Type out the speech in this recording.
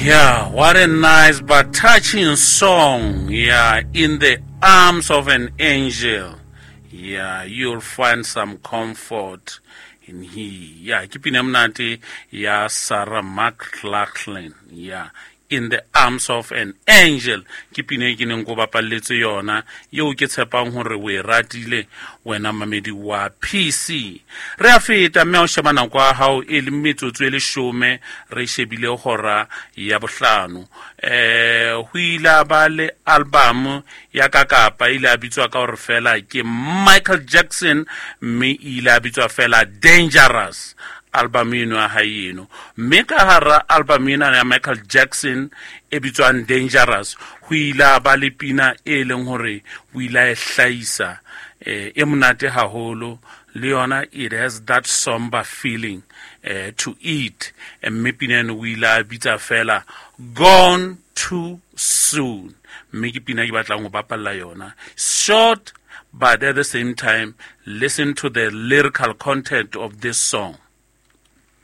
Yeah, what a nice but touching song. Yeah, in the arms of an angel. Yeah, you'll find some comfort in he. Yeah, ke pina monate ya Sarah McLachlan. Yeah, in the arms of an angel. Ke pina e ke neng ko bapalletse yona yeo ke tshepang hore o e ratile wena mamedi wa PC. Re a feta mme ha o sheba nako ya hao e le metsotso e leshome re shebile hora ya bohlano. Ho ile a ba le album ya ka kapa ile a bitswa ka hore fela ke Michael Jackson mme ile a bitswa fela Dangerous album eno ya hae eno. Mme ka hara album ena ya Michael Jackson e bitswang Dangerous ho ile a ba le pina e leng hore o ile a e hlahisa e monate haholo le yona, it has that somber feeling to it. Mme pina eno o ile a bitsa fela Gone Too Soon, mme ke pina ke batlang ho bapalla yona. Short, but at the same time listen to the lyrical content of this song.